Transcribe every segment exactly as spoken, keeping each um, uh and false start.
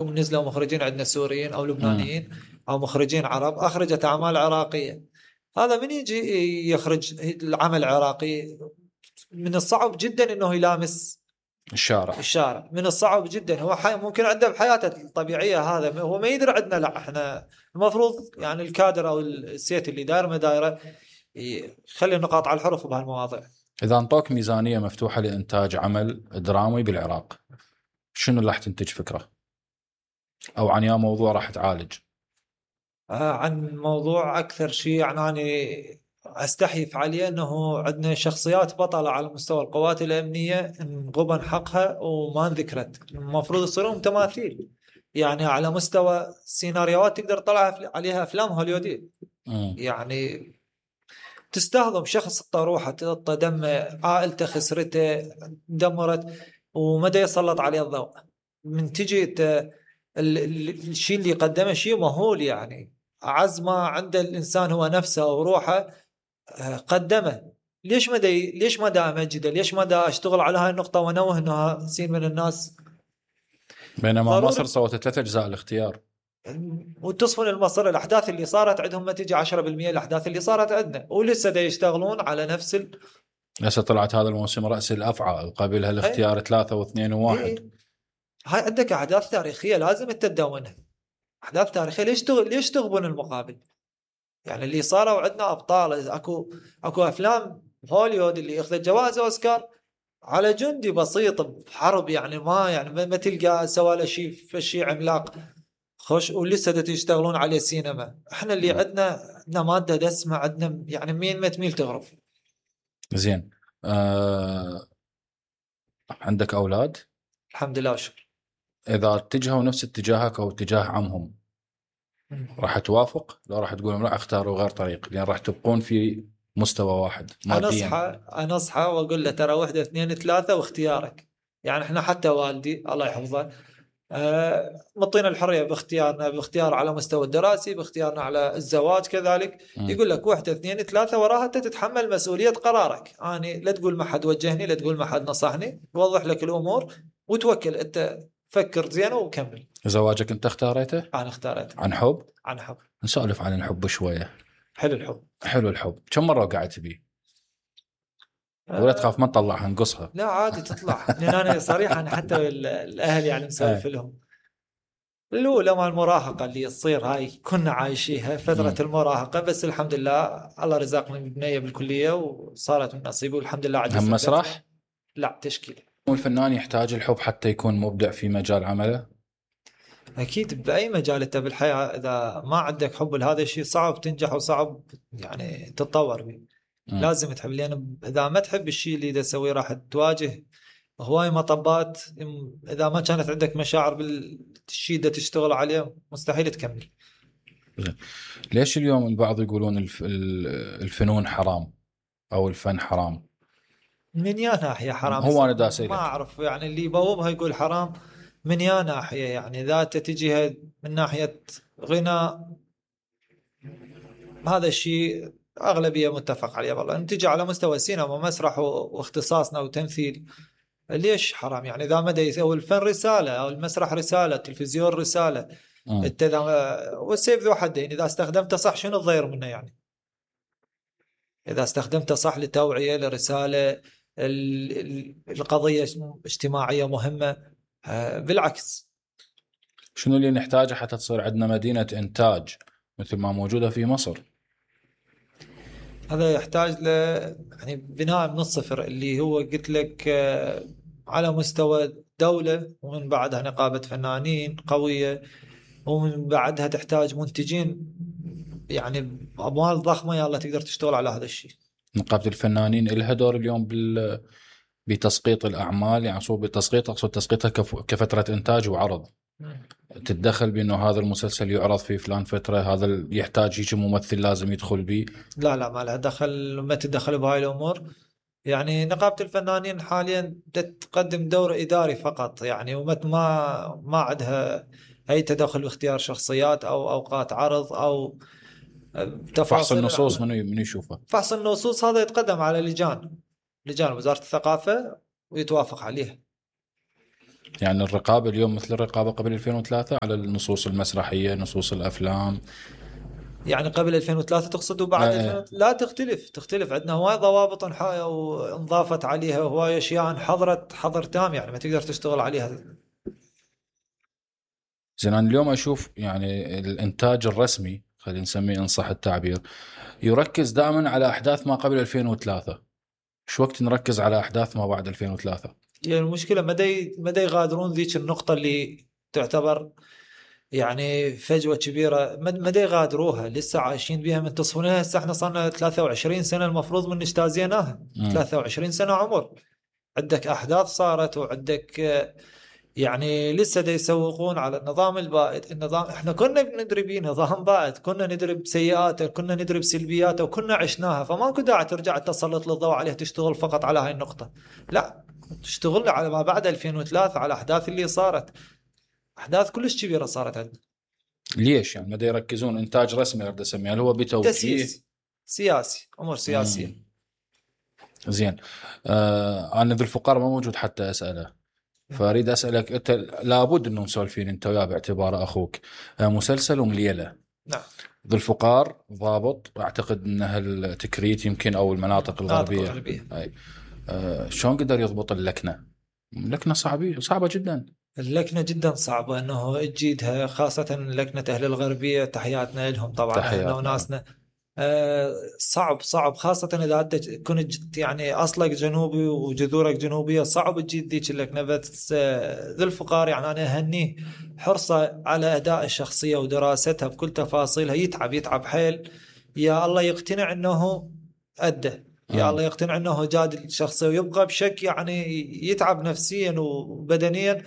نزلوا مخرجين عندنا سوريين أو مم. لبنانيين أو مخرجين عرب أخرجت أعمال عراقية. هذا من يجي يخرج العمل عراقي من الصعب جدا أنه يلامس الشارع. الشارع من الصعب جدا. هو حي ممكن عنده بحياته الطبيعية هذا هو ما يدري عندنا. لا احنا المفروض يعني الكادر أو السيت اللي داير مدايره يخلي النقاط على الحروف بهالمواضيع. إذا انطوك ميزانية مفتوحة لإنتاج عمل درامي بالعراق شنو اللي راح تنتج فكرة أو عن يا موضوع راح تعالج؟ آه عن موضوع أكثر شيء يعني أنا أستحي فعليا أنه عندنا شخصيات بطلة على مستوى القوات الأمنية انغبن حقها وما انذكرت. المفروض يصيرون تماثيل يعني على مستوى سيناريوهات تقدر تطلع عليها أفلام هوليودية. يعني تستهضم شخص الطروحة تغطى دم عائلته خسرته دمرت ومدى يسلط عليه الضوء من تجي الشيء اللي قدمه شيء مهول. يعني أعز ما عند الإنسان هو نفسه وروحه قدمه. ليش مدى ليش مدى أمجده ليش مدى أشتغل على هاي النقطة ونوه أنها سين من الناس. بينما مصر سوت ثلاث أجزاء الاختيار وتصفن المصر الأحداث اللي صارت عندهم ما تجي عشرة بالمئة الأحداث اللي صارت عندنا ولسه دا يشتغلون على نفس ال... لسه طلعت هذا الموسم رأس الأفعى قبلها الاختيار هي. ثلاثة واثنين وواحد هي. هاي عندك أحداث تاريخية لازم تتدونها. أحداث تاريخية ليش تغ... ليش تغبن المقابل؟ يعني اللي صاروا عندنا أبطال أكو أكو أفلام هوليوود اللي أخذت جوائز أوسكار على جندي بسيط بحرب يعني ما يعني ما تلقى سوى شيء في شيء عملاق خوش ولسه تشتغلون عليه سينما. احنا اللي عندنا عندنا مادة دسمة عندنا يعني مين ما تميل تغرف. زين آه... عندك أولاد؟ الحمد لله وشكرا. إذا اتجهوا نفس اتجاهك أو اتجاه عمهم راح توافق؟ لا راح تقول لا اختاروا غير طريق لأن راح تبقون في مستوى واحد ماديا؟ أنا أصحى أنا أصحى وأقول له ترى واحدة اثنين ثلاثة واختيارك. يعني احنا حتى والدي الله يحفظه آه مطينا الحرية باختيارنا باختيار على مستوى الدراسي باختيارنا على الزواج كذلك. م. يقول لك واحدة اثنين ثلاثة وراها أنت تتحمل مسؤولية قرارك. يعني لا تقول ما حد وجهني لا تقول ما حد نصحني ووضح لك الأمور وتوكل أنت فكر زين وكمل. زواجك أنت اختاريته؟ أنا اختاريته. عن حب؟ عن حب. نسولف عن الحب شوية. حلو الحب. حلو الحب. كم مرة وقعت بيه؟ ولا تخاف ما تطلعها نقصها؟ لا عادي تطلع. لأن أنا صريحة أنا حتى الأهل يعني مسولف لهم الأولى مع المراهقة اللي تصير هاي كنا عايشيها فترة م. المراهقة بس الحمد لله الله رزقني ببنية بالكلية وصارت من نصيبي والحمد لله. هم مسرح؟ لا تشكيل. والفنان يحتاج الحب حتى يكون مبدع في مجال عمله؟ أكيد بأي مجال أنت بالحياة إذا ما عندك حب لهذا الشيء صعب تنجح وصعب يعني تتطور به. م. لازم تحب لأن إذا ما تحب الشيء اللي إذا سويه راح تواجه هواي مطبات. إذا ما كانت عندك مشاعر بالشيء اللي تشتغل عليه مستحيل تكمل. ليش اليوم البعض يقولون الف... الفنون حرام أو الفن حرام؟ من يا ناحية حرام؟ هو أنا داسي ما أعرف يعني اللي يبوبها يقول حرام من يا ناحية. يعني ذات تجيها من ناحية غناء هذا الشيء أغلبية متفق عليه. والله نتيجة على مستوى السينما ومسرح واختصاصنا وتمثيل ليش حرام؟ يعني إذا مدى يسوي الفن رسالة أو المسرح رسالة التلفزيون رسالة التذا... والسيف ذو حدين. إذا استخدمته صح شنو الضير منه؟ يعني إذا استخدمته صح لتوعية لرسالة القضية اجتماعية مهمة بالعكس. شنو اللي نحتاجه حتى تصير عندنا مدينة إنتاج مثل ما موجودة في مصر؟ هذا يحتاج ل يعني بناء من الصفر اللي هو قلت لك على مستوى دولة ومن بعدها نقابة فنانين قوية ومن بعدها تحتاج منتجين يعني أموال ضخمة يلا تقدر تشتغل على هذا الشيء. نقابة الفنانين لها دور اليوم بال بتسقيط الأعمال يعني صوب بتسقيط أقصد تسقيطها كف... كفترة إنتاج وعرض م. تتدخل بأنه هذا المسلسل يعرض في فلان فترة هذا يحتاج يجي ممثل لازم يدخل به؟ لا لا ما لها دخل ما تدخل بهاي الأمور. يعني نقابة الفنانين حاليا تقدم دور إداري فقط يعني وما ما ما عندها أي تدخل باختيار شخصيات أو أوقات عرض أو فحص النصوص من من يشوفه. فحص النصوص هذا يتقدم على لجان لجان وزارة الثقافة ويتوافق عليها. يعني الرقابة اليوم مثل الرقابة قبل ألفين وثلاثة على النصوص المسرحية، نصوص الأفلام. يعني قبل ألفين وثلاثة تقصد وبعد آه. ألفين وثلاثة؟ لا، تختلف تختلف عندنا هواي ضوابط وانضافت عليها، هواي اشياء حضرت حظر تام، يعني ما تقدر تشتغل عليها. زين أنا اليوم أشوف يعني الإنتاج الرسمي، خلينا نسميه إن صح التعبير، يركز دائما على أحداث ما قبل ألفين وثلاثة. شو وقت نركز على أحداث ما بعد ألفين وثلاثة؟ يعني المشكلة مدى مدى يغادرون ذيك النقطة اللي تعتبر يعني فجوة كبيرة، مدى يغادروها، لسه عايشين بها من تصفونها. هسه احنا صارنا ثلاثة وعشرين سنة المفروض من اجتازيناها، ثلاثة وعشرين سنة عمر، عندك أحداث صارت وعندك يعني لسه دا يسوقون على النظام البائد. النظام احنا كنا بندري بيه نظام بائد، كنا ندري بسيئاته، كنا ندري بسلبياته، وكنا عشناها، فماكو داعي ترجع تسلط الضوء عليها تشتغل فقط على هاي النقطة. لا، تشتغل على ما بعد ألفين وثلاثة، على الأحداث اللي صارت، أحداث كلش كبيرة صارت عندنا. ليش يعني ما يركزون إنتاج رسمي أريد أسميه، هل هو بتوجيه تسييس سياسي، أمور سياسية. مم. زين. آه أنا ذو الفقار ما موجود حتى أسأله، فأريد أسألك أنت، لابد إنه مسولفين أنت وياه باعتبار أخوك. آه مسلسل ومليلة. نعم. ذو الفقار ضابط، أعتقد أنها التكريت يمكن أو المناطق الغربية. الغربية. أي. آه شلون قدر يضبط اللكنة؟ اللكنة صعبة صعبة جدا. اللكنة جدا صعبة انه تجيدها، خاصة لكنة اهل الغربية، تحياتنا لهم طبعا، اهلنا وناسنا. آه صعب صعب، خاصة اذا انت كنت يعني اصلك جنوبي وجذورك جنوبية، صعب تجيد ذيك اللكنة. بس آه ذو الفقار يعني انا اهنيه حرصه على اداء الشخصية ودراستها بكل تفاصيلها، يتعب يتعب حيل، يا الله يقتنع انه أدى، يا الله يقتنع انه جاد الشخصية، ويبقى بشك يعني يتعب نفسيا وبدنيا،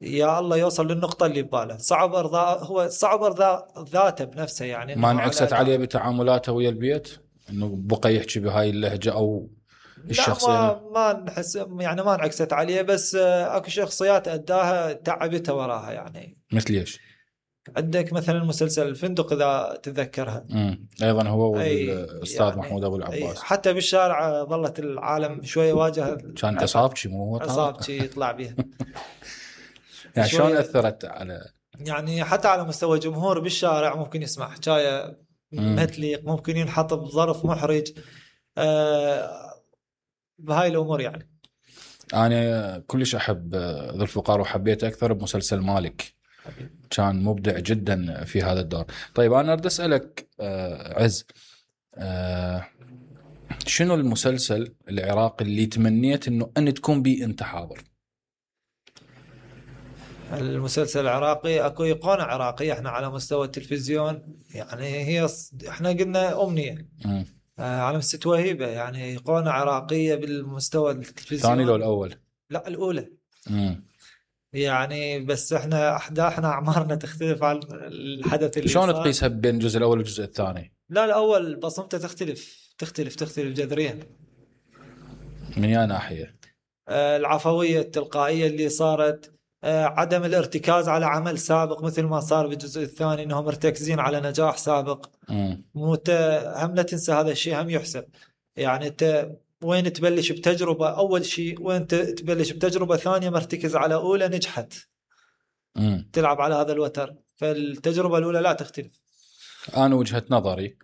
يا الله يوصل للنقطة اللي بباله. صعب ارضاء، هو صعب ارضاء ذاته بنفسه، يعني ما انعكست عليه بتعاملاته ويا البيت، انه بقى يحكي بهاي اللهجة او الشخصية؟ لا، ما ما نحس يعني ما انعكست عليه، بس اكو شخصيات اداها تعبتها وراها يعني. مثل ايش؟ عندك مثلا مسلسل الفندق اذا تتذكرها. امم ايضا هو والاستاذ يعني محمود ابو العباس. حتى بالشارع ظلت العالم شويه واجه، كان عصابتي مو هو عصابتي يطلع بها. يعني شلون اثرت على، يعني حتى على مستوى جمهور بالشارع ممكن يسمع حكايه ما تليق، ممكن ينحط بظرف محرج، آه بهاي الامور يعني. انا كلش احب ذو الفقار، وحبيت اكثر بمسلسل مالك، كان مبدع جدا في هذا الدور. طيب انا اريد اسالك آه عز، آه شنو المسلسل العراقي اللي تمنيت انه ان تكون بيه انت حاضر؟ المسلسل العراقي اكو ايقونه عراقيه احنا على مستوى التلفزيون، يعني هي احنا قلنا امنيه آه على مستوى وهيبه، يعني ايقونه عراقية بالمستوى التلفزيون. الثاني لو الاول؟ لا الاولى. مم. يعني بس احنا احداثنا اعمارنا تختلف عن الحدث اللي شلون صار. تقيسها بين الجزء الاول والجزء الثاني؟ لا الاول بصمته تختلف تختلف تختلف جذريا. من يا ناحيه؟ آه العفويه التلقائيه اللي صارت، آه عدم الارتكاز على عمل سابق مثل ما صار بالجزء الثاني، انهم مرتكزين على نجاح سابق. مو هم لا تنسى هذا الشيء هم يحسب، يعني انت وين تبلش بتجربه اول شيء، وين تبلش بتجربه ثانيه مرتكز على اولى نجحت، مم. تلعب على هذا الوتر، فالتجربه الاولى لا تختلف. انا وجهه نظري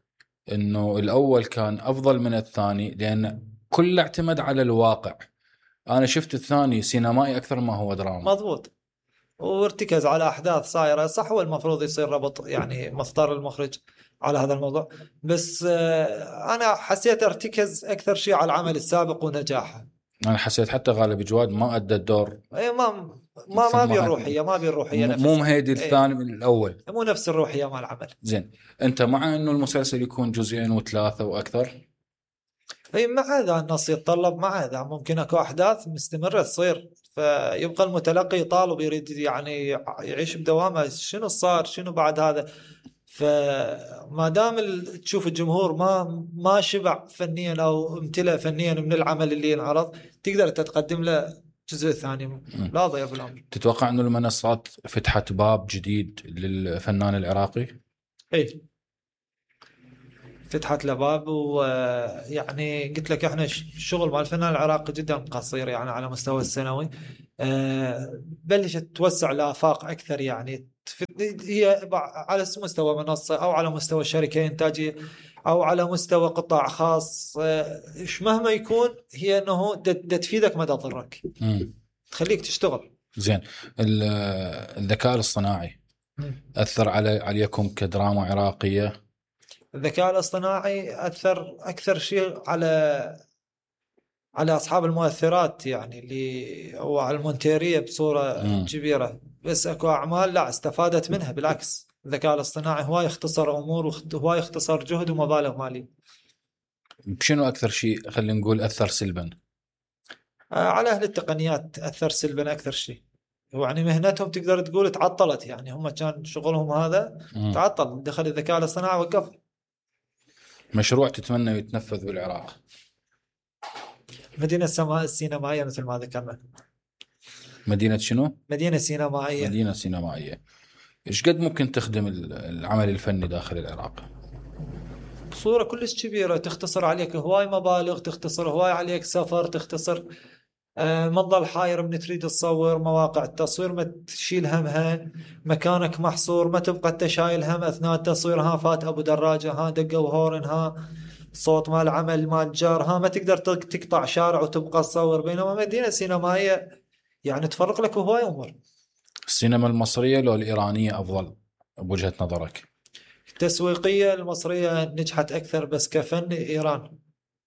انه الاول كان افضل من الثاني، لان كله اعتمد على الواقع. انا شفت الثاني سينمائي اكثر ما هو دراما. مضبوط، وارتكز على احداث صايره صح، هو المفروض يصير ربط يعني مصدر المخرج على هذا الموضوع، بس انا حسيت ارتكز اكثر شيء على العمل السابق ونجاحه. انا حسيت حتى غالب جواد ما ادى الدور، اي ما ما ما بي الروحيه ما بي الروحيه نفسها، مو مهدي الثاني من الاول، مو نفس الروحيه مال العمل. زين، انت مع انه المسلسل يكون جزئين وثلاثه واكثر؟ اي مع هذا النص يتطلب، مع هذا ممكن اكو احداث مستمره تصير، فيبقى المتلقي طالب يريد يعني يعيش بدوامه، شنو صار شنو بعد هذا. فما دام تشوف الجمهور ما ما شبع فنيا او امتلأ فنيا من العمل اللي ينعرض، تقدر تتقدم له الجزء الثاني، لا ضيف الامر. تتوقع انه المنصات فتحت باب جديد للفنان العراقي؟ اي فتحت له باب. ويعني قلت لك احنا الشغل مع الفنان العراقي جدا قصير يعني على مستوى السنوي. أه بلشت توسع لآفاق أكثر يعني، هي على مستوى منصة أو على مستوى شركة إنتاجية أو على مستوى قطاع خاص. أه مهما يكون هي أنه تفيدك ما تضرك، تخليك تشتغل زين. الذكاء الاصطناعي أثر على عليكم كدراما عراقية؟ الذكاء الاصطناعي أثر أكثر شيء على على أصحاب المؤثرات يعني اللي أو على المونتيرية بصورة م. كبيرة. بس أكو أعمال لا استفادت منها، بالعكس الذكاء الاصطناعي هو يختصر أمور وهو يختصر جهد ومبالغ مالية. بشنو أكثر شيء خلينا نقول أثر سلبا؟ على أهل التقنيات أثر سلبا أكثر شيء، يعني مهنتهم تقدر تقول تعطلت، يعني هم كان شغلهم هذا م. تعطل، دخل الذكاء الاصطناعي وقف. مشروع تتمنى يتنفذ بالعراق؟ مدينة السماء السينمائية مثل ما ذكرنا. مدينة شنو؟ مدينة سينمائية. مدينة سينمائية. إيش قد ممكن تخدم العمل الفني داخل العراق؟ بصورة كلش كبيرة، تختصر عليك هواي مبالغ، تختصر هواي عليك سفر، تختصر آه ما تظل حاير من تريد تصور، مواقع التصوير ما تشيل همها، مكانك محصور ما تبقى انت شايل هم اثناء التصوير، ها فات ابو دراجة، ها دقوا هورن، ها صوت مال عمل مال جار، ها ما تقدر تقطع شارع وتبقى تصور. بينما مدينة سينمائية يعني تفرق لك هواي امور. السينما المصرية لو الإيرانية أفضل بوجهة نظرك؟ التسويقية المصرية نجحت أكثر، بس كفن إيران.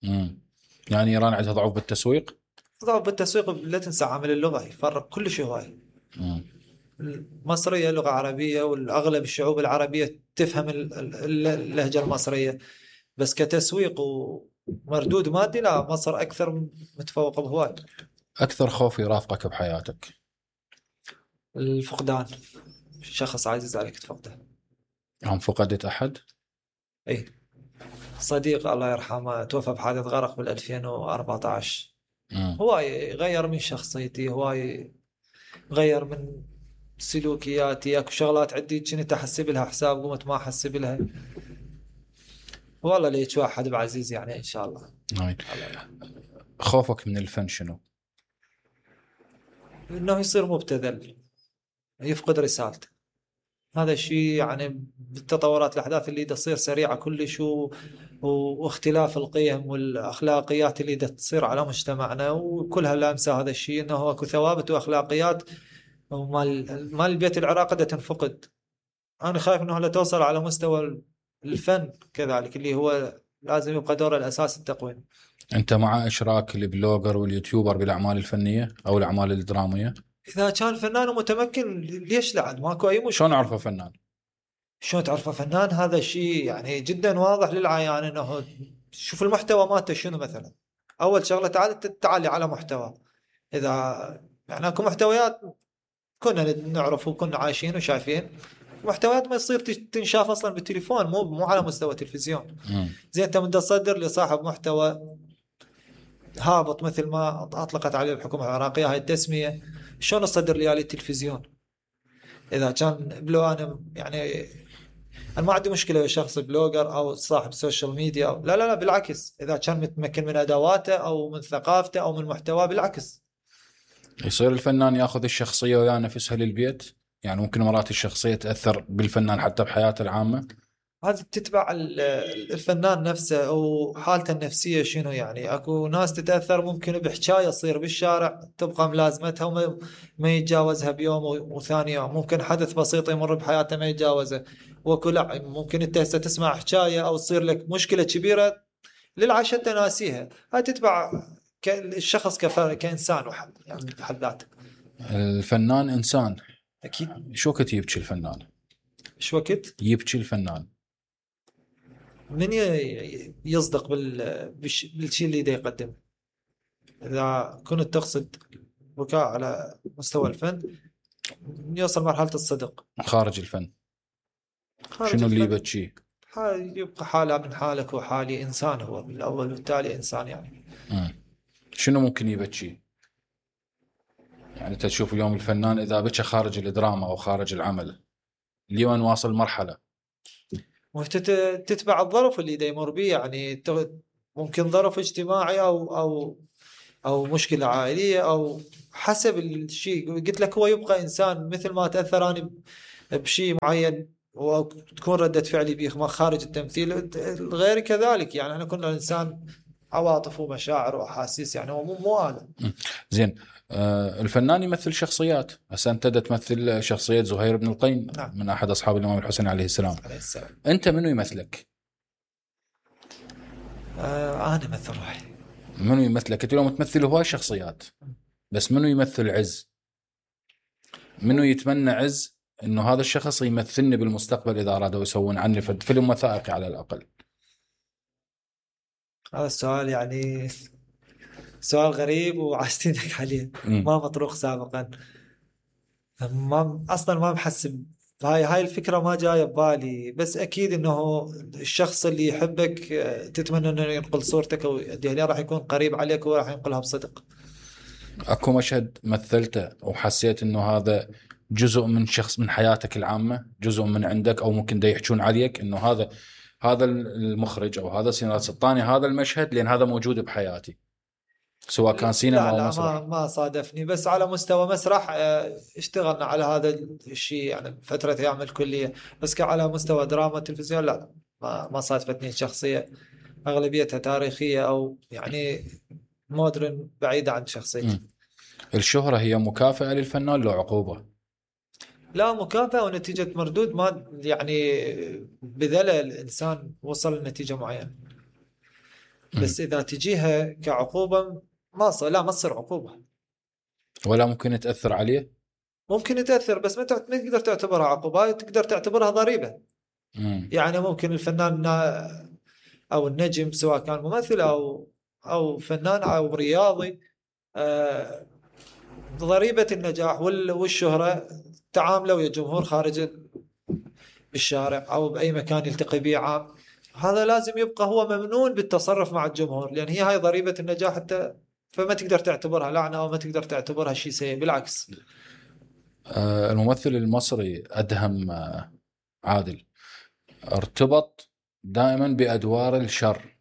امم يعني إيران عندها ضعف بالتسويق؟ ضعف بالتسويق، لا تنسى عامل اللغة يفرق كل شيء هواي. المصرية لغة عربية، والأغلب الشعوب العربية تفهم اللهجة المصرية، بس كتسويق ومردود مادي لا، مصر أكثر متفوقة بهواي. أكثر خوف يرافقك بحياتك؟ الفقدان، شخص عزيز عليك تفقده. هم فقدت أحد؟ اي صديق الله يرحمه توفى بحادث غرق بال ألفين وأربعة عشر. هواي غير من شخصيتي، هواي غير من سلوكياتي. اكو شغلات عندي كنت احسب لها حساب قمت ما احسب لها. والله ليش واحد بعزيز يعني ان شاء الله. نعم. خوفك من الفن شنو؟ انه يصير مبتذل، يفقد رسالته. هذا الشيء يعني بالتطورات الاحداث اللي تصير سريعه كلش و... واختلاف القيم والاخلاقيات اللي تصير على مجتمعنا وكلها لامسه هذا الشيء، انه اكو ثوابت واخلاقيات ومال مال البيت العراقي دا تنفقد. انا خايف انه لا توصل على مستوى الفن كذلك اللي هو لازم يبقى دوره الاساسي التقويم. انت مع اشراك البلوجر واليوتيوبر بالاعمال الفنيه او الاعمال الدراميه؟ اذا كان فنان متمكن ليش لا؟ ماكو اي مشكله. شلون اعرفه فنان؟ شلون تعرفه فنان؟ هذا الشيء يعني جدا واضح للعيان، انه شوف المحتوى مالته شنو. مثلا اول شغله تعال تعالي على محتوى. اذا يعني اكو محتويات كنا نعرف وكنا عايشين وشايفين، محتويات ما يصير تنشاف اصلا بالتليفون، مو مو على مستوى تلفزيون. زين انت من تصدر لصاحب محتوى هابط مثل ما اطلقت عليه الحكومه العراقيه هاي التسميه، شلون تصدر لي على التلفزيون؟ اذا كان بلو انا يعني انا ما عندي مشكله ويا شخص بلوجر او صاحب سوشيال ميديا أو لا لا لا بالعكس، اذا كان متمكن من ادواته او من ثقافته او من محتواه بالعكس. يصير الفنان ياخذ الشخصيه ويا نفسها للبيت، يعني ممكن مرات الشخصيه تاثر بالفنان حتى بحياته العامه. هذا تتبع الفنان نفسه وحالته النفسيه شنو. يعني اكو ناس تتاثر ممكن بحكايه تصير بالشارع تبقى ملازمتها وما ما يتجاوزها بيوم وثاني يوم، ممكن حدث بسيط يمر بحياته ما يتجاوزه. واكو لا ممكن انت هسه تسمع حكايه او تصير لك مشكله كبيره للعشاء انت ناسيها. هاي تتبع الشخص كانسان وحد يعني بحد ذاته. الفنان انسان اكيد. شو وقت يبكي الفنان؟ شو وقت يبكي الفنان؟ من يصدق بالشيء اللي دا يقدمه. إذا كنت تقصد بكاء على مستوى الفن يوصل مرحلة الصدق. خارج الفن خارج شنو الفن اللي يبكيه؟ يبقى حالة من حالك وحالي، إنسان هو بالأول والتالي إنسان يعني. م. شنو ممكن يبكيه؟ يعني تشوف اليوم الفنان إذا بكى خارج الدراما أو خارج العمل، اليوم واصل مرحلة وتتبع الظرف اللي دا يمر به، يعني ممكن ظرف اجتماعي او او او مشكله عائليه او حسب الشيء. قلت لك هو يبقى انسان مثل ما تاثر انا بشيء معين وتكون ردة فعلي به خارج التمثيل، غير كذلك. يعني احنا كنا انسان عواطف ومشاعر واحاسيس، يعني هو مو مو انا. زين. آه الفنان يمثل شخصيات. هسه انت تمثل شخصيه زهير بن القين. نعم. من احد اصحاب الامام الحسين عليه السلام. عليه السلام. انت منو يمثلك؟ آه انا مثل روحي. منو يمثلك؟ انت اليوم تمثل هواي شخصيات، بس منو يمثل عز؟ منو يتمنى عز انه هذا الشخص يمثلني بالمستقبل اذا ارادوا يسوون عني فيلم وثائقي على الاقل؟ هذا السؤال يعني سؤال غريب وعاشتينك عليه. م. ما مطروح سابقا. ما اصلا ما محسب هاي هاي الفكره، ما جايه ببالي. بس اكيد انه الشخص اللي يحبك تتمنى انه ينقل صورتك يعني راح يكون قريب عليك وراح ينقلها بصدق. اكو مشهد مثلته وحسيت انه هذا جزء من شخص من حياتك العامه، جزء من عندك، او ممكن دا يحجون عليك انه هذا هذا المخرج او هذا سيناريست الثاني هذا المشهد لان هذا موجود بحياتي، سواء كان سينما او مسرح؟ لا ما صادفني، بس على مستوى مسرح اشتغلنا على هذا الشيء يعني فترة ايام الكلية. بس كعلى مستوى دراما تلفزيون لا ما ما صادفتني شخصية اغلبيتها تاريخية او يعني مودرن بعيدة عن شخصيتي. الشهرة هي مكافأة للفنان لو عقوبة؟ لا، مكافأة ونتيجة مردود ما يعني بذل الإنسان وصل لنتيجة معينة. بس إذا تجيها كعقوبة ما صار، لا ما تصير عقوبة. ولا ممكن تأثر عليه؟ ممكن تأثر بس ما تقدر تعتبرها عقوبة، تقدر تعتبرها ضريبة. مم. يعني ممكن الفنان أو النجم سواء كان ممثل أو أو فنان أو رياضي، آه ضريبة النجاح والشهرة تعامله ويا جمهور خارج بالشارع أو بأي مكان يلتقي به عام، هذا لازم يبقى هو ممنون بالتصرف مع الجمهور، لأن هي هاي ضريبة النجاح حتى. فما تقدر تعتبرها لعنة أو ما تقدر تعتبرها شيء سيء، بالعكس. آه الممثل المصري أدهم آه عادل ارتبط دائما بأدوار الشر.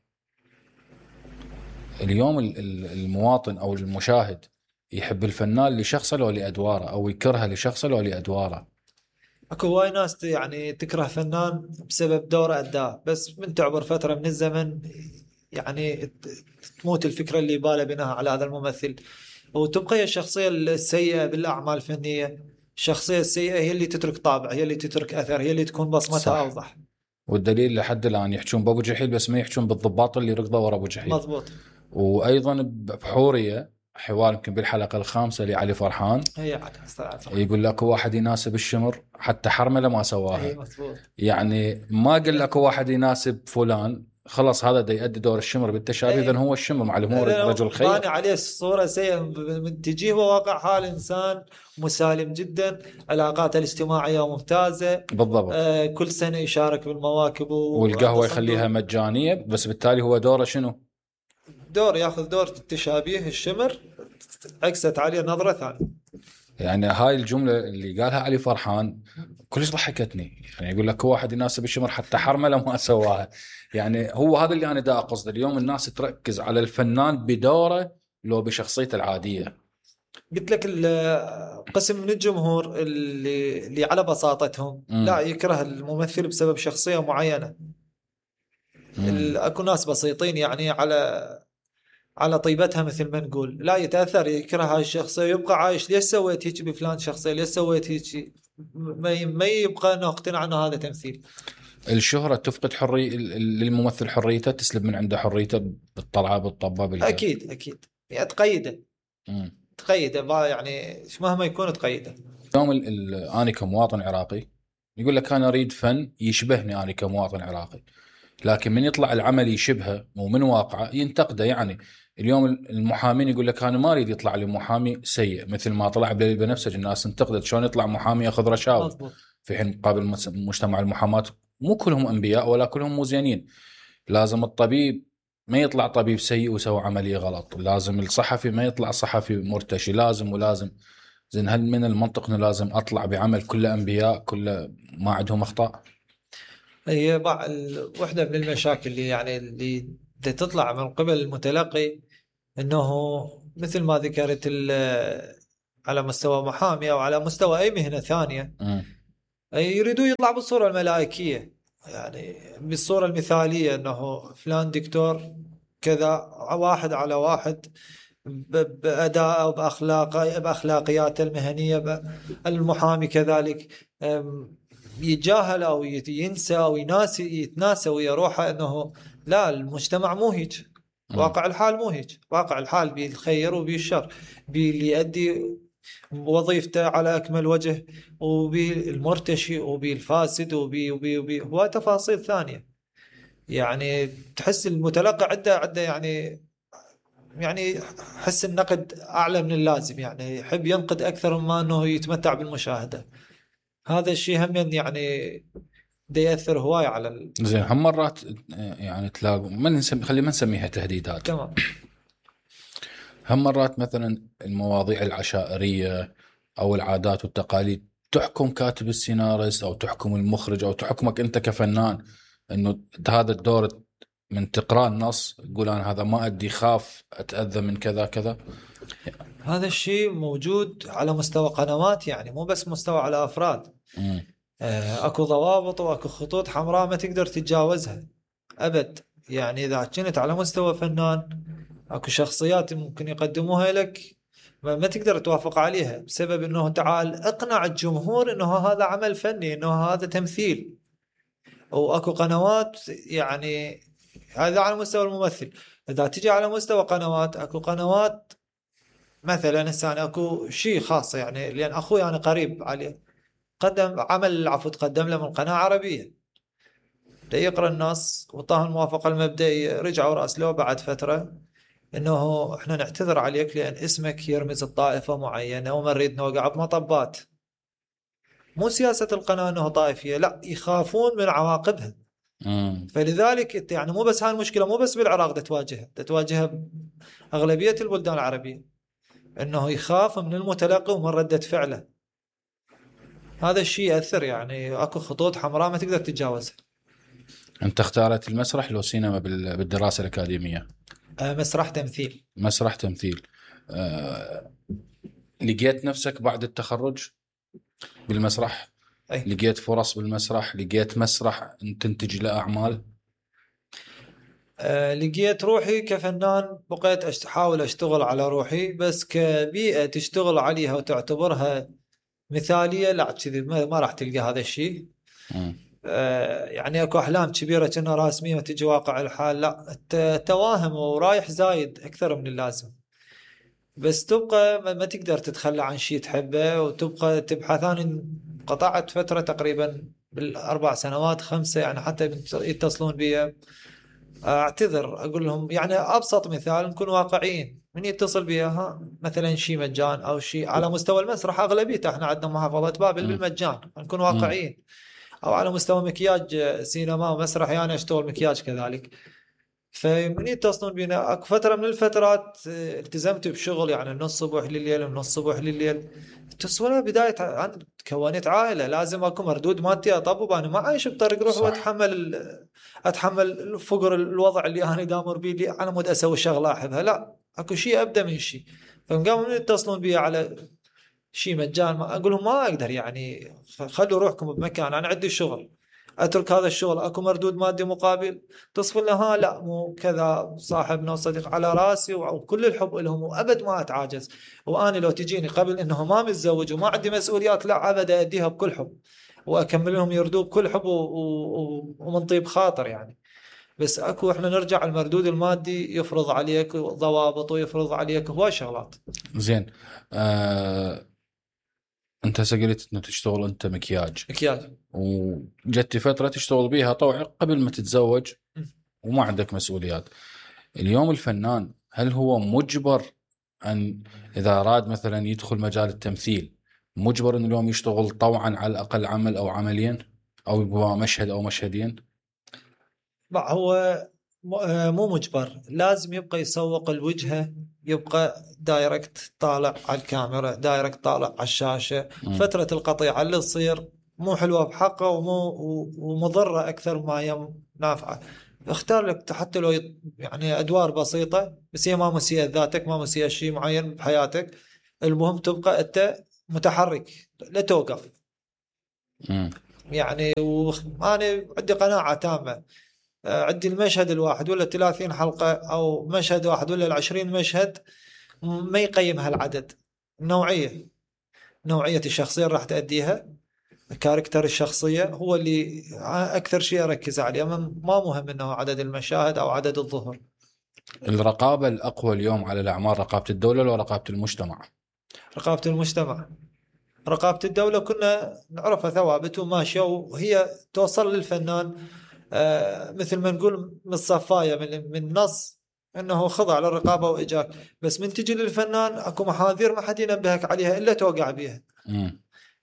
اليوم المواطن أو المشاهد يحب الفنان لشخصه لو لأدواره، أو يكرهه لشخصه لو لأدواره؟ اكو هواي ناس يعني تكره فنان بسبب دوره أداه، بس من تعبر فترة من الزمن يعني تموت الفكرة اللي باله بناء على هذا الممثل، وتبقى هي الشخصية السيئة بالأعمال الفنية. الشخصية السيئة هي اللي تترك طابع، هي اللي تترك أثر، هي اللي تكون بصمتها صح. أوضح. والدليل لحد الآن يحجون بأبو جحيل بس ما يحجون بالضباط اللي ركضوا ورا أبو جحيل. مضبوط. وأيضا بحورية حوار يمكن بالحلقة الخامسة لعلي فرحان، هي علي يقول لك واحد يناسب الشمر حتى حرمله ما سواها. هي مضبوط. يعني ما قال لك واحد يناسب فلان خلص هذا دا يؤدي دور الشمر بالتشابه، اذا هو الشمر معلم هو رجل خير. باني عليه صورة سيئة من تجيه وواقع حال إنسان مسالم جدا، علاقاته الاجتماعية ممتازة بالضبط. آه كل سنة يشارك بالمواكب والقهوة يخليها مجانية، بس بالتالي هو دوره شنو؟ دور ياخذ دور التشابيه الشمر، عكست عليه نظرة ثانية. يعني هاي الجملة اللي قالها علي فرحان كلش ضحكتني. يعني يقول لك واحد يناسب الشمر حتى حرمله ما سواها. يعني هو هذا اللي أنا دا أقصد. اليوم الناس تركز على الفنان بدوره لو بشخصيته العادية. قلت لك قسم من الجمهور اللي اللي على بساطتهم م. لا يكره الممثل بسبب شخصية معينة. اكو ناس بسيطين يعني على على طيبتها مثل ما نقول، لا يتأثر يكره هاي الشخصية ويبقى عايش. ليش سويت هيك بفلان شخصية؟ ليش سويت هيك؟ ما ما يبقى انه اقتنع انه هذا تمثيل. الشهرة تفقد حرية للممثل، حريته تسلب من عنده حريته بالطلعة بالطبة بالجو. اكيد اكيد يعني تقيده مم. تقيده يعني مهما يكون تقيده. اليوم انا كمواطن عراقي يقول لك انا اريد فن يشبهني انا كمواطن عراقي، لكن من يطلع العمل يشبهه ومن واقعه ينتقده. يعني اليوم المحامين يقول لك انا ما اريد يطلع لي محامي سيء مثل ما طلع بليل بنفسج. الناس انتقدت شلون يطلع محامي ياخذ رشاوى، في حين مقابل مجتمع المحاماة مو كلهم انبياء ولا كلهم مو زينين. لازم الطبيب ما يطلع طبيب سيء وسوى عملية غلط، لازم الصحفي ما يطلع صحفي مرتشي، لازم ولازم. زين هل من المنطق انه لازم اطلع بعمل كله انبياء كله ما عندهم اخطاء؟ هي بعض واحدة من المشاكل اللي يعني اللي تطلع من قبل المتلقي، انه مثل ما ذكرت على مستوى محامي او على مستوى اي مهنة ثانية م. يريدوا يطلع بالصورة الملائكية، يعني بالصورة المثالية انه فلان دكتور كذا، واحد على واحد بأداء أو بأخلاق بأخلاقياته المهنية. المحامي كذلك يتجاهل أو ينسى أو يناسي يتناسى ويا روحه أنه لا، المجتمع مو هيك، واقع الحال مو هيك، واقع الحال بالخير وبالشر، باللي يؤدي وظيفته على أكمل وجه، وبالمرتشي وبالفاسد وبي وبي وبي وتفاصيل ثانية. يعني تحس المتلقى عنده عنده يعني يعني حس النقد أعلى من اللازم، يعني يحب ينقد أكثر مما أنه يتمتع بالمشاهدة. هذا الشيء هم يعني ده يأثر هواي على ال... زين. هم مرات يعني تلاقوا ما نسمي خلي ما نسميها تهديدات، تمام. هم مرات مثلا المواضيع العشائرية أو العادات والتقاليد تحكم كاتب السيناريست أو تحكم المخرج أو تحكمك أنت كفنان، إنه هذا الدور من تقرأ النص يقول أنا هذا ما أدي، خاف أتأذى من كذا كذا. هذا الشيء موجود على مستوى قنوات، يعني مو بس مستوى على أفراد. م. آه، أكو ضوابط وأكو خطوط حمراء ما تقدر تتجاوزها أبد. يعني إذا كنت على مستوى فنان أكو شخصيات ممكن يقدموها لك ما, ما تقدر توافق عليها، بسبب أنه تعال اقنع الجمهور أنه هذا عمل فني، أنه هذا تمثيل. وأكو قنوات يعني هذا على مستوى الممثل. إذا تجي على مستوى قنوات، أكو قنوات مثلا هسه أنا أكو شيء خاص، يعني لأن أخوي أنا قريب عليه، قدم عمل عفو تقدم له من قناة عربية، ده يقرأ النص وطاه الموافقة المبدئية، رجعوا راسلوه بعد فترة إنه إحنا نعتذر عليك لأن اسمك يرمز الطائفة معينة وما نريد نوقع بمطبات. مو سياسة القناة إنه طائفية، لا، يخافون من عواقبها. مم. فلذلك يعني مو بس هاي المشكلة مو بس بالعراق ده تواجهها، ده تواجهها أغلبية البلدان العربية، إنه يخاف من المتلقي ومن ردة فعله. هذا الشيء يأثر، يعني أكو خطوط حمراء ما تقدر تتجاوزها. أنت اختارت المسرح لو سينما بالدراسة الأكاديمية؟ أه، مسرح تمثيل. مسرح تمثيل. أه... لقيت نفسك بعد التخرج بالمسرح؟ أي. لقيت فرص بالمسرح؟ لقيت مسرح تنتج له أعمال؟ أه، لقيت روحي كفنان، بقيت أحاول أشتغل على روحي، بس كبيئة تشتغل عليها وتعتبرها مثالية لا، كذي ما, ما راح تلقى هذا الشيء. أه يعني أكو أحلام كبيرة كأنها راسمية وتجي واقع الحال لا، توهم ورايح زايد أكثر من اللازم. بس تبقى ما, ما تقدر تتخلى عن شيء تحبه وتبقى تبحث. أنا قطعت فترة تقريبا بالأربع سنوات خمسة، يعني حتى يتصلون بي اعتذر اقول لهم، يعني ابسط مثال نكون واقعيين، من يتصل بها مثلا شيء مجان او شيء على مستوى المسرح، اغلبيته احنا عندنا محافظه بابل بالمجان، نكون واقعيين. او على مستوى مكياج سينما ومسرح، يعني اشتغل مكياج كذلك. فمن يتصلون بينا اكو فتره من الفترات التزمت بشغل، يعني من الصبح لليل ومن الصبح لليل. تصور بدايه انا كونت عائله، لازم اكو مردود مادي اطبب، انا ما عايش بطريق روح واتحمل اتحمل الفقر الوضع اللي انا دامر بيه، اللي انا مود اسوي شغله احبها، لا، اكو شيء ابدا من شيء. فقاموا من يتصلون بي على شيء مجان، ما اقول لهم ما اقدر، يعني خلوا روحكم بمكان، انا عندي شغل، اترك هذا الشغل اكو مردود مادي مقابل؟ تصفل لها لا مو كذا، صاحبنا وصديق على راسي وكل الحب لهم وابد ما اتعاجز. وانا لو تجيني قبل انه ما متزوج وما عندي مسؤوليات، لا ابد اديها بكل حب واكمل لهم يردوا بكل حب و... و... ومن طيب خاطر يعني. بس اكو احنا نرجع المردود المادي يفرض عليك ضوابط ويفرض عليك هواي شغلات. زين. آه... انت قلت انه تشتغل انت مكياج مكياج وجت فتره تشتغل بيها طوعي قبل ما تتزوج وما عندك مسؤوليات. اليوم الفنان هل هو مجبر ان اذا اراد مثلا يدخل مجال التمثيل مجبر انه اليوم يشتغل طوعا على الاقل عمل او عملين او يبغى مشهد او مشهدين؟ لا، هو مو مجبر، لازم يبقى يسوق الوجهة، يبقى دايركت طالع على الكاميرا، دايركت طالع على الشاشة. م. فترة القطيعة اللي تصير مو حلوة بحقه ومو ومضرة أكثر ما هي نافعة. اختار لك حتى لو يعني أدوار بسيطة، بس هي ما مسيئة ذاتك، ما مسيئة شيء معين بحياتك. المهم تبقى أنت متحرك، لا توقف. م. يعني وأنا عندي قناعة تامة، عندي المشهد الواحد ولا ثلاثين حلقة أو مشهد واحد ولا العشرين مشهد ما يقيم هالعدد. نوعية نوعية الشخصية اللي راح تأديها، كاركتر الشخصية هو اللي أكثر شيء أركز عليه. ما مهم أنه عدد المشاهد أو عدد الظهور. الرقابة الأقوى اليوم على الأعمال رقابة الدولة ولا رقابة المجتمع؟ رقابة المجتمع. رقابة الدولة كنا نعرفها ثوابت وماشية، وهي توصل للفنان آه مثل ما نقول من الصفاية من, من نص أنه خضع للرقابة وإجاك، بس من تجي للفنان أكو محاذير ما حد ينبهك عليها إلا توقع بيها. م.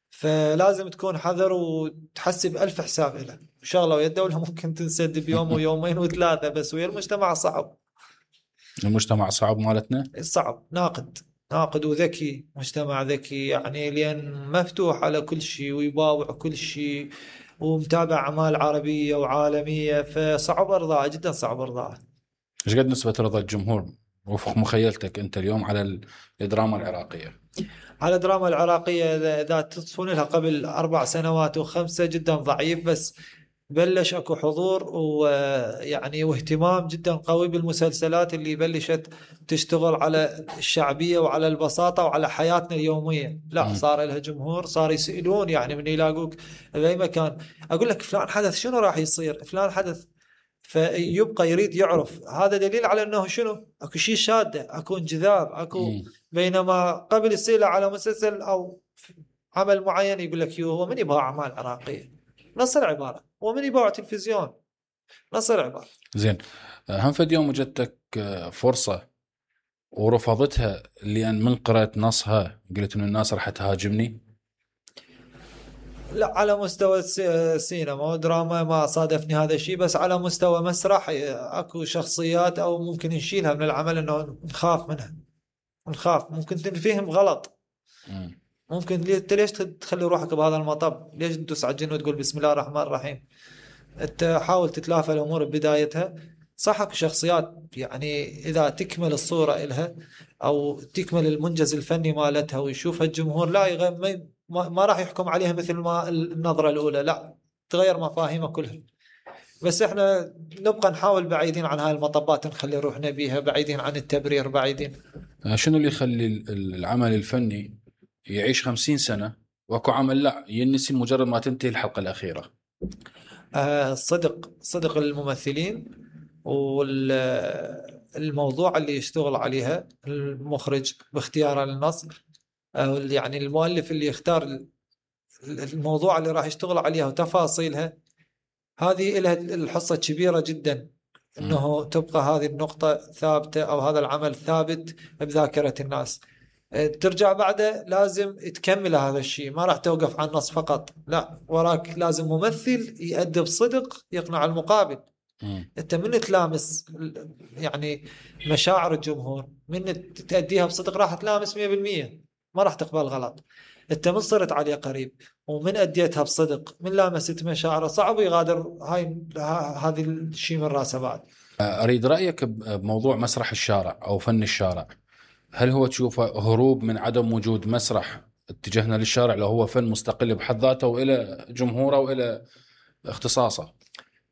فلازم تكون حذر وتحسب ألف حساب له. شغلة ويا الدولة ممكن تنسد بيوم ويومين وثلاثة، بس ويا المجتمع صعب. المجتمع صعب مالتنا؟ صعب، ناقد ناقد وذكي، مجتمع ذكي يعني، لأن مفتوح على كل شيء ويباوع كل شيء ومتابع أعمال عربية وعالمية، فصعب إرضاء، جدا صعب إرضاء. ايش قد نسبة رضا الجمهور وفق مخيلتك أنت اليوم على الدراما العراقية؟ على الدراما العراقية إذا تصفون لها قبل أربع سنوات وخمسة جدا ضعيف، بس بلش أكو حضور ويعني واهتمام جدا قوي بالمسلسلات اللي بلشت تشتغل على الشعبية وعلى البساطة وعلى حياتنا اليومية. لا، صار لها جمهور، صار يسألون يعني من يلاقوك بأي مكان أقول لك فلان حدث شنو راح يصير، فلان حدث، فيبقى يريد يعرف. هذا دليل على أنه شنو أكو شيء شادة، أكو انجذاب، أكو م. بينما قبل يصير على مسلسل أو عمل معين يقول لك يو هو من يبغى أعمال عراقية، نص العبارة، ومن يبغى تلفزيون، نص العبارة. زين، هم فد يوم وجدتك فرصة ورفضتها لأن من قرأت نصها قلت إنه الناس راح تهاجمني؟ لا، على مستوى السينما ودراما ما صادفني هذا الشيء، بس على مستوى مسرح اكو شخصيات او ممكن نشيلها من العمل انه نخاف منها، نخاف ممكن تنفهم غلط. م. ممكن ليش تخلي روحك بهذا المطب، ليش تدوس على الجن وتقول بسم الله الرحمن الرحيم. انت حاول تتلافى الامور ببدايتها. صح اكو شخصيات يعني اذا تكمل الصورة إلها او تكمل المنجز الفني مالتها ويشوفها الجمهور لا يغير، ما, ما راح يحكم عليها مثل ما النظرة الأولى، لا تغير مفاهيمها كلها. بس احنا نبقى نحاول بعيدين عن هاي المطبات، نخلي روحنا بيها بعيدين عن التبرير، بعيدين. شنو اللي يخلي العمل الفني يعيش خمسين سنة واكو عمل لا ينسي مجرد ما تنتهي الحلقة الأخيرة؟ آه صدق صدق الممثلين والموضوع اللي يشتغل عليها المخرج باختياره للنص، يعني المؤلف اللي يختار الموضوع اللي راح يشتغل عليها وتفاصيلها، هذه لها الحصة كبيرة جدا انه تبقى هذه النقطة ثابتة او هذا العمل ثابت بذاكرة الناس. ترجع بعده لازم تكمل هذا الشيء، ما راح توقف عن النص فقط، لا وراك لازم ممثل يؤدي بصدق يقنع المقابل. انت من تلامس يعني مشاعر الجمهور، من تأديها بصدق راح تلامس مية بالمية، ما راح تقبل غلط. انت من صرت عليه قريب ومن أديتها بصدق، من لامست مشاعره، صعب يغادر هاي هذه الشيء من راسه بعد. أريد رأيك بموضوع مسرح الشارع أو فن الشارع. هل هو تشوفه هروب من عدم وجود مسرح اتجهنا للشارع، لو هو فن مستقل بحد ذاته وإلى جمهوره وإلى اختصاصه؟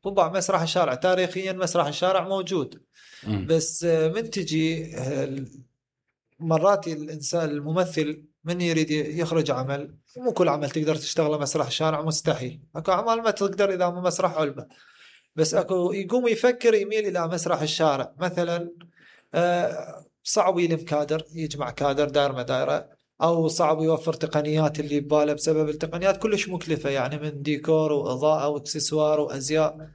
طبعا مسرح الشارع تاريخيا مسرح الشارع موجود، م. بس من تجي مرات الإنسان الممثل من يريد يخرج عمل، مو كل عمل تقدر تشتغله مسرح الشارع، مستحيل. اكو اعمال ما تقدر اذا مو مسرح علبة، بس اكو يقوم يفكر يميل الى مسرح الشارع. مثلا صعب يلم كادر، يجمع كادر دائر ما دائره، او صعب يوفر تقنيات اللي بباله بسبب التقنيات كلش مكلفة، يعني من ديكور واضاءة واكسسوار وازياء.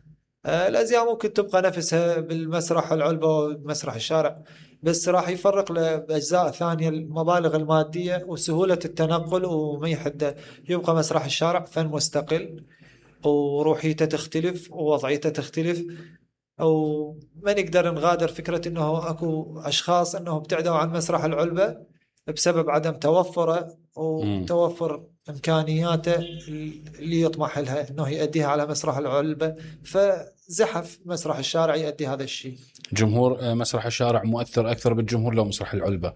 الازياء ممكن تبقى نفسها بالمسرح العلبة ومسرح الشارع، بس راح يفرق لأجزاء ثانية المبالغ المادية وسهولة التنقل وما يحد. يبقى مسرح الشارع فن مستقل وروحيته تختلف ووضعيته تختلف، أو ما نقدر نغادر فكرة أنه أكو أشخاص أنه ابتعدوا عن مسرح العلبة بسبب عدم توفره وتوفر إمكانياته اللي يطمح لها أنه يؤديها على مسرح العلبة، فزحف مسرح الشارع يؤدي هذا الشيء. جمهور مسرح الشارع مؤثر أكثر بالجمهور لو مسرح العلبة؟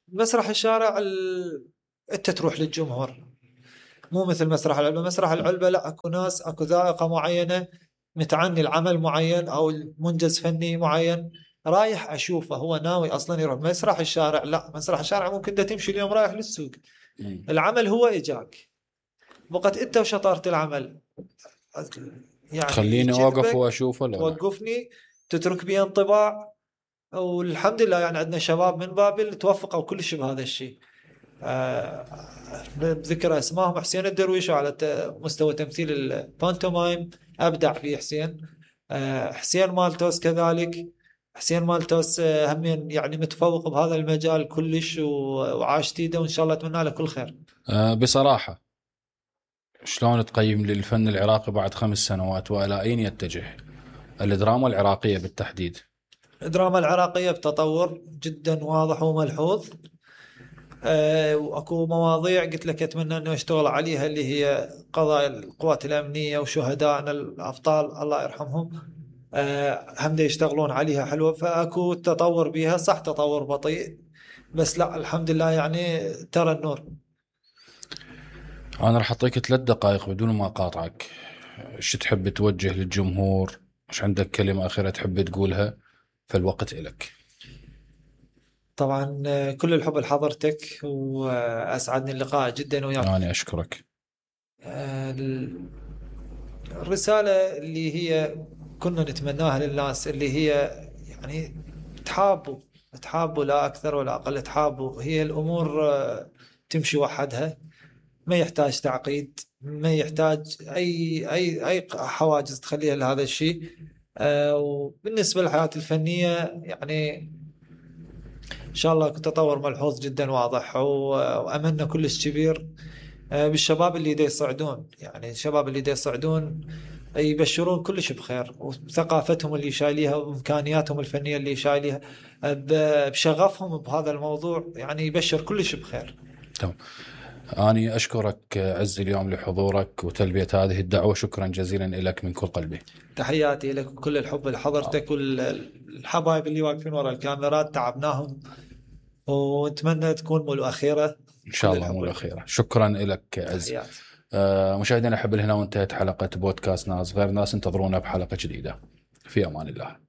مسرح الشارع ال... أنت تروح للجمهور، مو مثل مسرح العلبة. مسرح العلبة لا، أكو ناس، أكو ذائقة معينة متعني العمل معين أو المنجز فني معين رايح أشوفه، هو ناوي أصلا يروح. مسرح الشارع لا، مسرح الشارع ممكن دا تمشي اليوم رايح للسوق، العمل هو إجاك بقت أنت وشطارة العمل، يعني خليني أوقف وأشوفه، لا وقفني تترك بي انطباع. والحمد لله يعني عندنا شباب من بابل توفقوا كلش بهذا الشيء. آه بذكر اسمائهم حسين الدرويش على مستوى تمثيل البانتومايم أبدع فيه حسين. آه حسين مالتوس كذلك، حسين مالتوس آه هم يعني متفوق بهذا المجال كلش وعاش تيده، وإن شاء الله أتمنى له كل خير. آه بصراحة شلون تقيم للفن العراقي بعد خمس سنوات وإلى أين يتجه الدراما العراقية بالتحديد؟ الدراما العراقية بتطور جدا واضح وملحوظ. أه واكو مواضيع قلت لك اتمنى انه يشتغل عليها، اللي هي قضايا القوات الامنيه وشهدائنا الابطال الله يرحمهم. أه هم يشتغلون عليها حلوه، فاكو تطور بيها، صح تطور بطيء بس لا الحمد لله يعني ترى النور. انا راح اعطيك ثلاث دقائق بدون ما اقاطعك، شو تحب توجه للجمهور؟ مش عندك كلمه اخيره تحب تقولها؟ فالوقت إلك. طبعا كل الحب لحضرتك، وأسعدني اللقاء جدا وياك. أنا أشكرك. الرسالة اللي هي كنا نتمناها للناس، اللي هي يعني تحابوا تحابوا لا أكثر ولا أقل، تحابوا، هي الأمور تمشي وحدها، ما يحتاج تعقيد، ما يحتاج أي أي أي حواجز تخليها لهذا الشيء. وبالنسبة للحياة الفنية يعني إن شاء الله تطور ملحوظ جدا واضح، وأملنا كلش كبير بالشباب اللي دا يصعدون، يعني الشباب اللي دا يصعدون يبشرون كلش بخير، وثقافتهم اللي شايليها وإمكانياتهم الفنية اللي شايليها بشغفهم بهذا الموضوع، يعني يبشر كلش بخير. تمام. أنا أشكرك عز اليوم لحضورك وتلبية هذه الدعوة، شكرا جزيلا لك من كل قلبي. تحياتي لك وكل الحب لحضرتك والحبايب اللي واقفين وراء الكاميرات، تعبناهم ونتمنى تكون مو الأخيرة إن شاء الله، مو الأخيرة. شكرا لك عز. آه مشاهدينا، أحب هنا وانتهت حلقة بودكاست ناس غير ناس، انتظرونا بحلقة جديدة. في أمان الله.